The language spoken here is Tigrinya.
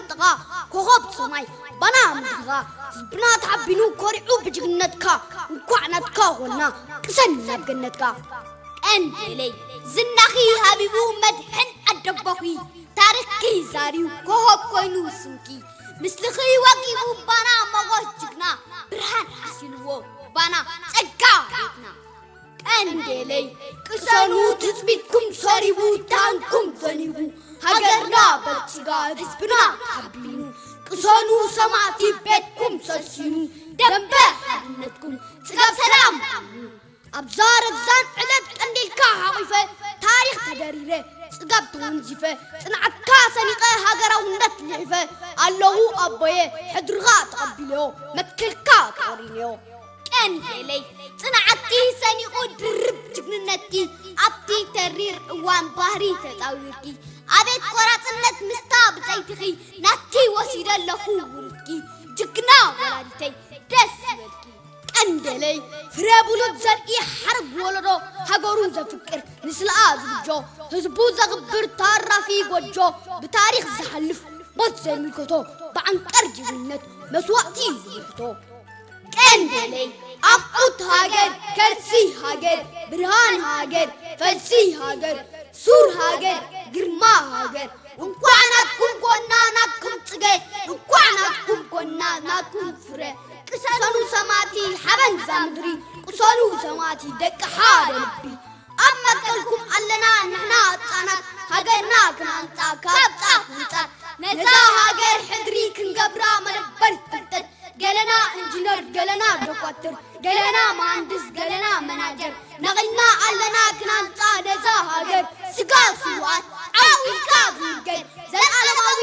ጥቓ ኮኸብ ሰማይ ባና ምድርኻ ህዝብና ተሓቢኑ ኮሪዑ ብጅግንነትካ እንኳዕ ናትካ ኾልና ቅሰን ናብ ገነትካ። ቀንዴለይ ዝናኺ ሃቢቡ መድሕን ኣደቦኺ ታሪኽኪ ዛርዩ ኮኸብ ኮይኑ ስምኪ ምስልኺ ወቂቡ ባና ሞጎስ ጅግና ብርሃን ዓሲልዎ ባና ጸጋ ቤትና። ቀንዴለይ ቅሰኑ ትጽቢትኩም ሰሪቡ ታንኩም ዘኒቡ ሃገርና በልጺጋ ህዝብና ተሓቢኑ ቅሰኑ ሰማዕቲ ቤትኩም ሰሲኑ ደንበ ሓርነትኩም ጽጋብ ሰላም ኣብዛ ረዛን ዕለት ቀንዴልካ ሓቒፈ ታሪኽ ተደሪረ ጽጋብ ተወንዚፈ ጽንዓትካ ሰኒቐ ሃገራውነት ልሒፈ ኣለኹ ኣቦየ ሕድርኻ ተቐቢለዮ መትከልካ ተቖሪነዮ። ቀንዴለይ ጽንዓትኪ ሰኒቑ ድርብ ጅግንነትኪ ኣብቲ ተሪር እዋን ባህሪ ተጻዊርኪ ኣቤት ቆራጽነት ምስታ ብጸይትኺ ናትኪ ወሲደ ኣለኹ ውሉድኪ ጅግና ወላዲተይ ደስ ይበልኪ። ቀንዴለይ ፍረ ብሉጽ ዘርኢ ሓረግ ወለዶ ሃገሩ ዘፍቅር ንስለኣ ዝብጆ ህዝቡ ዘኽብር ታራፊ ጎጆ ብታሪኽ ዝሓልፍ ሞት ዘይምልከቶ ብዓንቀር ጅግንነት መስዋእቲ ዝብሕቶ። ቀንዴለይ ኣብዑት ሃገር ከርሲ ሃገር ብርሃን ሃገር ፈልሲ ሃገር ሱር ሃገር ግርማ ሃገር እንኳዕ ናትኩም ጎና ናትኩም ጽገ እንኳዕ ናትኩም ጎና ናትኩም ፍረ ቅሰኑ ሰማዕቲ ሓበን ዛ ምድሪ ቅሰኑ ሰማዕቲ ደቂ ሓደ ልቢ ኣብ መትከልኩም ኣለና ንሕና ህጻናት ሃገርና ክንሃንጻ ካብ ጻፍ ንጻፍ ነዛ ሃገር ሕድሪ ክንገብራ መደበር ፍልጠት ገለና ኢንጂነር ገለና ዶኳትር ገለና መሃንድስ ገለና መናጀር ነቒልና ኣለና ክንሃንጻ ነዛ ሃገር ስጋ ስውኣት ዓው ኢልካ ዝንገር ዘለኣለማዊ